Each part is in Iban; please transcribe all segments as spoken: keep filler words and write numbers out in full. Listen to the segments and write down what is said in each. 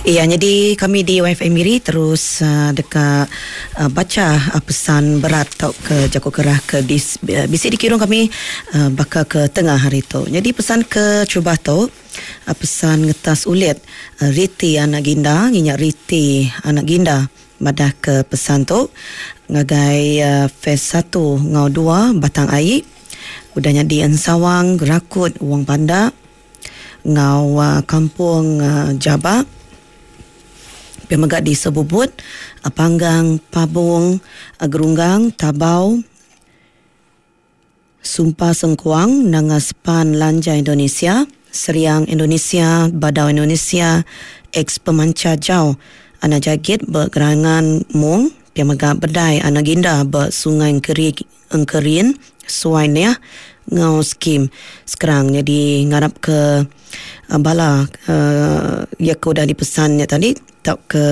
Iya, jadi kami di Y F M Miri terus uh, deka uh, baca uh, pesan berat atau ke jaku kerah ke dis, uh, bisi dikirim kami uh, baka ke tengah hari tu. Jadi pesan ke cuba tu uh, pesan ngetas ulit uh, Riti anak Ginda, nginyak Riti anak Ginda madah ke pesan tu ngagai uh, phase satu ngau dua Batang Ai. Udah nyadi Ensawang, Gerakut, Wang Panda ngau uh, Kampung uh, Jabak. Pemegak di Sebubut, Panggang, Pabung, Gerunggang, Tabau, Sumpah Sengkuang, Nangaspan Lanja Indonesia, Seriang Indonesia, Badau Indonesia, ex Pemanca Jau, Anak Jagit Bergerangan Mung, Pemegak Bedai, Anak Ginda Bersungai Engkerin, Suai Niah, Ngau Skim. Sekarang jadi ngarap ke uh, bala uh, ya ke udah dipesannya tadi tak ke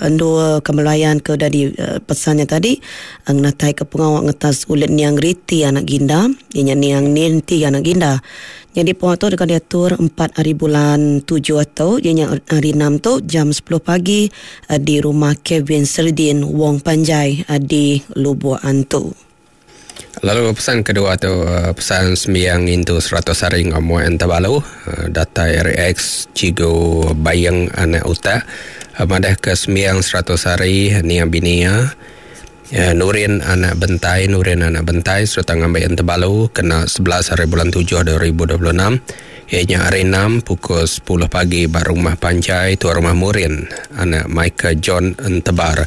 endua kemelayan ke udah dipesannya tadi ngatai ke pengawak ngetas ulit niang Riti anak Ginda inya niang Ninti anak Ginda. Jadi puak tu dekat diatur empat hari bulan tujuh atau ianya hari enam tu jam sepuluh pagi di rumah Kevin Serdin Wong Panjai di Lubuk Antu. Lalu pesan kedua tu pesan sembiang into seratus hari ngamuan Entabalu data R X Cigo Bayang anak utak madah ke sembiang seratus hari niang binia Nurin anak Bentai Nurin anak Bentai serta ngambil Entabalu kena sebelas hari bulan tujuh dua ribu dua puluh enam ianya hari enam pukul sepuluh pagi bar rumah Panjai tuan rumah Murin anak Michael John Entebar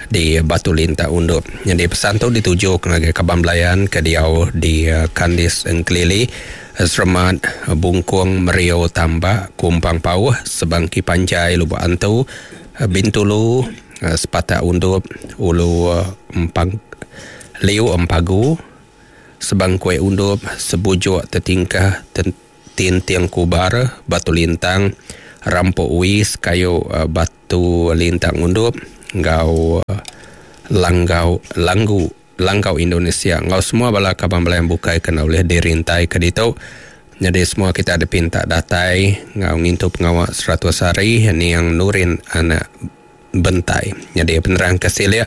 di Batu Lintak Undup. Jadi pesan tu dituju ke Kaban Belayan ke diau di Kandis Engkelili, Seremat, Bungkung, Merio, Tambak, Kumpang Pauh, Sebangki Panjai, Lubuk Antu, Bintulu, Sepatak Undup, Ulu Empang, Liu Empagu, Sebangkui Undup, Sebujuk Tetingkah, Tinting Kubar, Batu Lintang, Rampok Wis, Kayu Batu Lintang Undup, ngau langgau langgu langgau Indonesia ngau semua bala kaban belayan bukai kena boleh dirintai ke ditu. Jadi semua kita ada pinta datai ngau ngintu pengawak seratus hari ni yang Nurin anak Bentai. Jadi penerang kesilia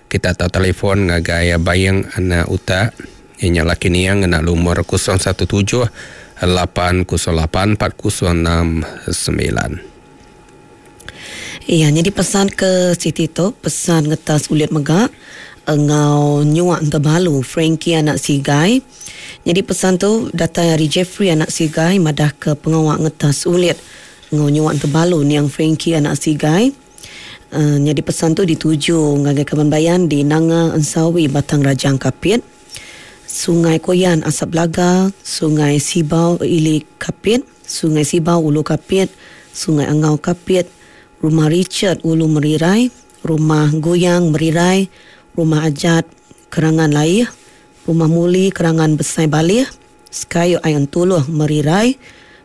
kita tahu telefon ngagai Bayang anak utak inya laki niang ngena lumur kosong satu tujuh lapan kosong lapan empat kosong enam sembilan. Iya, jadi pesan ke Siti tu, pesan ngetas ulit megak ngau nyuak Entabalu Frankie anak Sigai. Jadi pesan tu datang dari Jeffrey anak Sigai madah ke pengawak ngetas ulit ngau nyuak Entabalu niang Frankie anak Sigai. Uh, jadi pesan tu dituju ngagai Kaban Bayan di Nanga Ensawi Batang Rajang Kapit, Sungai Koyan Asap Laga, Sungai Sibau Ili Kapit, Sungai Sibau Ulu Kapit, Sungai Angau Kapit, Rumah Richard Ulu Merirai, Rumah Goyang Merirai, Rumah Ajat Kerangan Laih, Rumah Muli Kerangan Besai Balih, Sekayu Ayan Tuluh Merirai,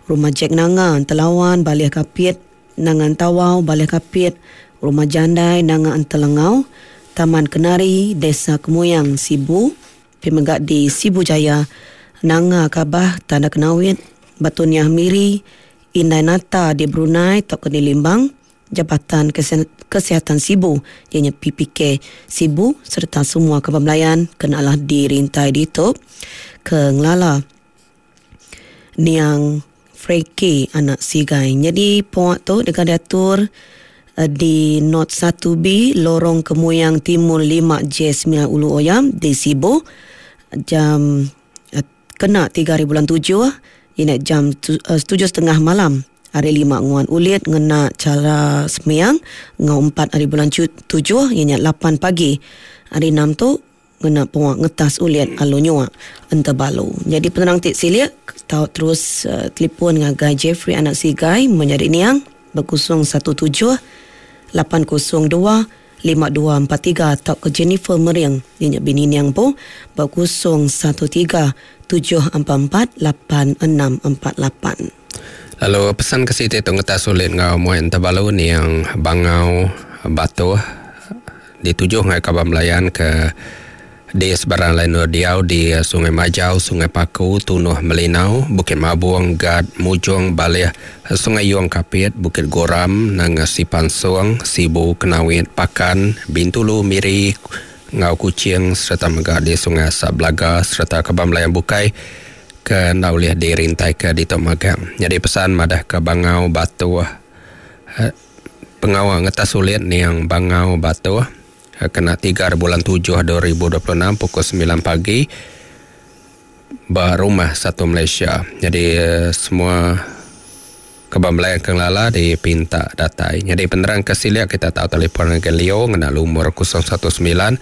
Rumah Jack Nanga Telawan Balih Kapit, Nangan Tawau Balih Kapit, Rumah Jandai Nanga Antelengau, Taman Kenari Desa Kemuyang Sibu, Pemegak di Sibu Jaya, Nanga Kabah Tanda Kenawit, Batu Niah Miri, Indai Nata di Brunei Tok Keni Limbang, Jabatan Kesihatan Sibu ianya P P K Sibu serta semua kaban belayan kenalah dirintai ditutup ke ngelala niang Frankie anak Sigai. Jadi puak tu dekat diatur di Not satu B Lorong Kemuyang Timur lima J sembilan Ulu Oyam di Sibu jam kena tiga hari bulan tujuh ini jam tujuh setengah malam. Hari lima nguan ulit ngena cara semiang ngau empat hari bulan tujuh ianya lapan pagi. Hari enam tu ngena puak ngetas ulit alu nyuak Entabalu. Jadi penerang tik silik tau terus uh, telefon ngagai Jeffrey anak Sigai menjadi niang berkosong satu tujuh lapan kosong dua lima dua empat tiga atau ke Jennifer Meriang ianya bini niang po berkosong satu tiga tujuh empat empat lapan enam empat lapan. Lalu pesan ke Siti tu ngetas ulit ngau muai Entabalu ni yang bangau batu ditujuh ngai Kaban Belayan ke Di sebarang lain diau di Sungai Majau, Sungai Paku, Tunuh Melinau, Bukit Mabung, Gad, Mujong, Balih, Sungai Yuang Kapit, Bukit Goram, Nanga Sipansung, Sibu, Kenawit, Pakan, Bintulu, Miri, Ngau Kuching serta mega di Sungai Asap Belaga serta Kebang Melayang Bukai ke enda ulih dirintai ke di Tok Magang. Jadi pesan madah ke Bangau Batu pengawa ngetas sulit niang Bangau Batu kena tiga bulan tujuh dua ribu dua puluh enam pukul sembilan pagi berumah satu Malaysia. Jadi semua kebang belayang kenglala dipinta datai. Jadi penerang ke siliak kita tahu telefon ke Leo ngena lumur kosong satu sembilan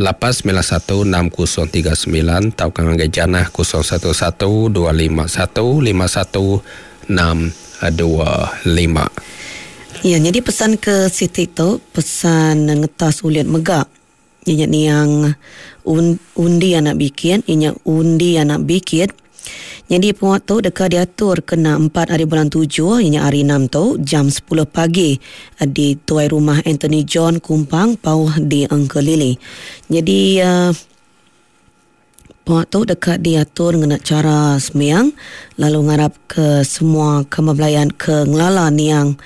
lapan sembilan satu enam kosong tiga sembilan atau ke ngagai Janah kosong satu satu dua lima satu lima satu enam dua lima. Ya, jadi pesan ke Siti tu, pesan ngetas ulit megak. Inya niang un, undi anak bikin, inya undi anak bikin. Jadi penguat tu dekat diatur kena empat hari bulan tujuh, inya hari enam tu, jam sepuluh pagi di tuai rumah Anthony John Kumpang, Pauh di Engkelili. Jadi uh, penguat tu dekat diatur ngena cara semiang, lalu ngarap ke semua kemabelayan ke ngelala niang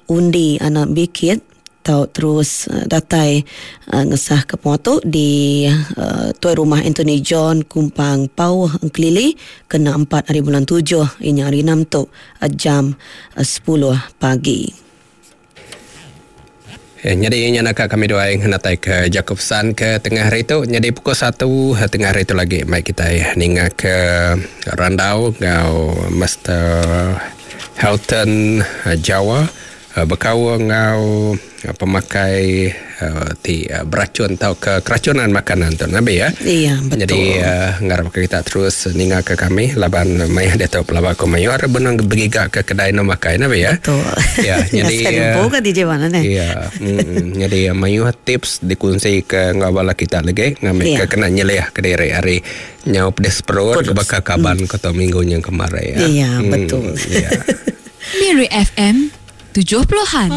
undi anak bikit tau terus uh, datai uh, ngesah ke penguat di uh, tuai rumah Anthony John Kumpang Pauh Engkelili kena empat hari bulan tujuh ini hari enam tu uh, jam uh, sepuluh pagi. Ya, jadi ini nak kami dua yang natai ke Jacobson ke tengah hari tu. Jadi pukul satu tengah hari tu lagi mai kita ninga ke Randau ngau Master Helton Jawa berkau ngau pemakai uh, ti uh, beracun atau ke keracunan makanan tu Nabi ya. Iya betul. Jadi uh, ngarap kita terus ninga ke kami laban maya dia tahu pelaba ko mayu ada benang bergiga ke kedai no makai Nabi ya. Betul. Ya jadi uh, bukan D J mana ni. Iya. Mm, jadi mayu tips dikunci ke ngau bala kita lagi ngambil ya. Ke kena nyeleh ke diri hari nyau pedes perut ke bakal kaban mm. kota minggu yang kemarin ya. Iya betul. Mm, ya. Miri F M tujuh puluhan.